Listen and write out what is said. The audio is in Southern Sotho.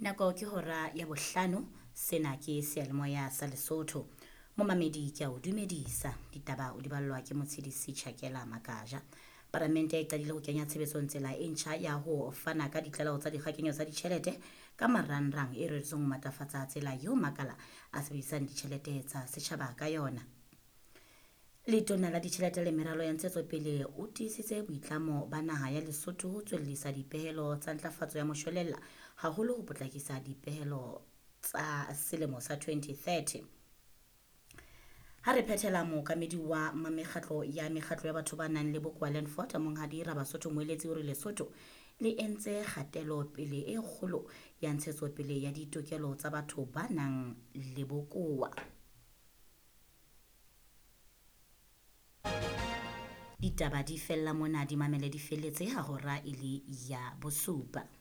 Nako ke hora ya bohlano, sena ke seyalemoya sa Lesotho. Momamedi ke a o dumedisa. Ditaba o di ballwa ke Motshedisi Chakela Makaja. Palamente e qadile ho kenya tshebetsong tsela e ntjha ya ho fana ka ditlaleho tsa dikgakenyo tsa ditjhelete ka marangrang e reretsweng ho matlafatsa tsela eo makala a sebedisang ditjhelete tsa setjhaba ka yona. Letona la Ditjhelete le Meralo ya Ntshetsopele o tiisitse boitlamo ba naha ya Lesotho ho tswellisa dipehelo tsa ntlafatso ya moshwelella haholo ho potlakisa dipehelo tsa selemo sa 2030. Ha re phethela mookamedi wa mekgatlo ya mekgatlo ya batho ba nang le bokowa Landford Monghadi Rabasotho Moeletsi o re Lesotho le entse kgatelo pele e kgolo ya ntshetsopele ya ditokelo tsa batho ba nang le bokowa. Ditaba di fella mona di mamele di felletse ha hora e le ya bosupa.